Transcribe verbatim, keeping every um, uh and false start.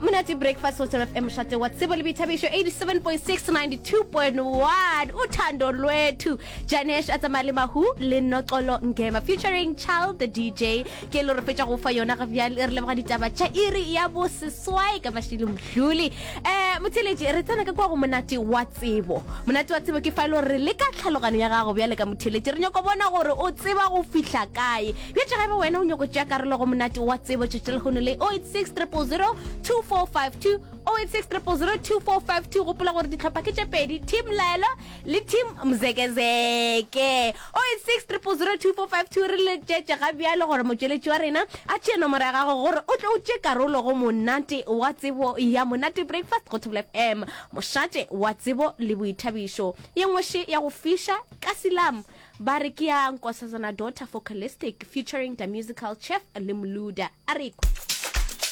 Monate Breakfast go Thobela F M, mošate wa tsebo le boithabišo, eighty-seven point six, ninety-two point one. Uthando Lwethu, Janesh a tsamaya le Mahu le Noxolo Ngema featuring Child the D J. Ke le re fetša go fa yona ga bjale, re leboga ditaba tša iri ya boseswai ka Mashilo Mdluli. Eh, motheeletši, re tsena ka kwa go monate wa tsebo. Monate wa tsebo ke fa e le gore re leka tlhaloganyo ya gago bjale ka motheeletši, re nyako bona gore o tseba go fihla kae. Bjatše ga eba wena o nyako tšea karolo go monate wa tsebo tšatši la lehono le oh eight six triple zero two four five two, oh eight six triple zero two four five two. Gopola gore dihlopha ke tše pedi, Team Laelo le Team Mzekezeke. oh eight six triple zero two four five two, re letšetše ga bjale gore motšweletši wa rena a tšee nomoro ya gago gore o tle o tšee karolo go monate wa tsebo ya Monate Breakfast go Thobela F M, mošate wa tsebo le boithabišo. Ye nngwe še ya go fiša ka silam ba re ke ya Nkosazana Daughter Focalistic featuring the musical Chef le Mluda. A re kwe.